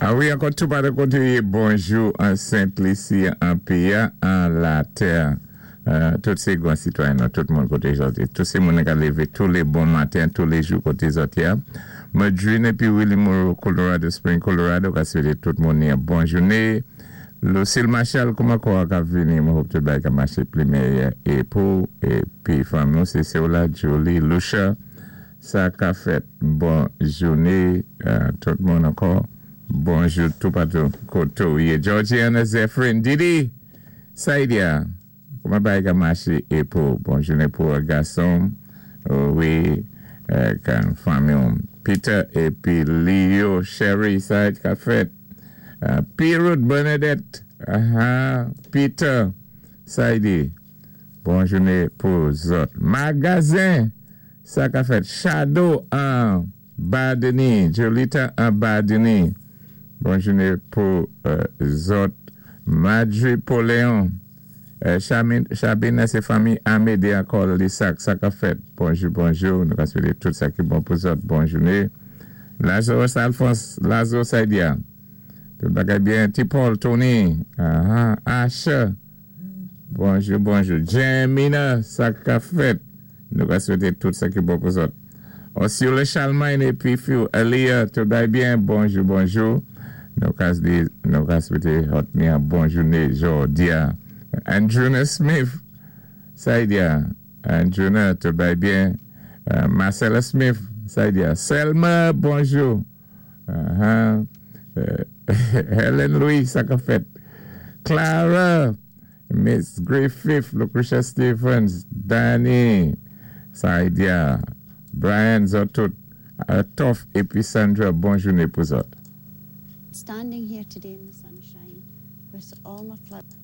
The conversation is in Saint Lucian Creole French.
A wi, ankò tou pa de koté, bonjou an Sent Lisi, an péyi, an latè. Tout sé gwan sitwayen, tout moun koté zòt. Tout sé moun ka lévé tou lé bon maten, tou lé jou koté zòt ya. Madrine épi Willie Moore, Colorado Springs, Colorado, ka swété tout moun yon bon jouné. Lucille Marshall, kouman kò ka vini, mwen hope tout bagay ka maché pli méyè é pou épi fanmi sé la Julie Lucia, sa ka fèt bon jouné, tout moun ankò. Bonjou tou patou koté ou yé. Georgiana Zephyrin, Didi, Saidia, kouman bagay ka maché é pou bon jouné pou gason, wi, kan fanmi. Peter épi Leo, Sherry, sa ka fèt. Pirut Bernadette, Peter, Saidi, bon jouné pou zòt. Magazen, sa ka fèt. Shadow an Badeni, Jolita an Badeni, bon jouné pou zòt. Madri Poléon, Chabine, sé fanmi Amédée ankò, Lissac, sa ka fèt. Bonjou, bonjou, nou ka swété tout sa ki bon pou zòt. Bon jouné. Lazarus Alphonse, Lazo Saidia. Tout bagay byen. Ti Paul, Tony, Asha. Bonjou, bonjou. Jamina, sa ka fèt. Nou ka swété tout sa ki bon pou zòt. Osula Chalmain épi fi Elia, tout bagay byen. Bonjou, bonjou. Nou ka di, nou ka swété zòt yon bon jouné jòdi-a. Andruna Smith, Saidia. Andruna, tout bagay byen. Marcella Smith, Saidia. Selma, bonjou. Helen Louis, sa ka fèt. Clara, Miss Griffith, Lucretia Stevens, Danny, Saidia, Brian zòt tout, Toff épi Sandra, bon jouné pou zòt. Standing here today in the sunshine with all my flowers.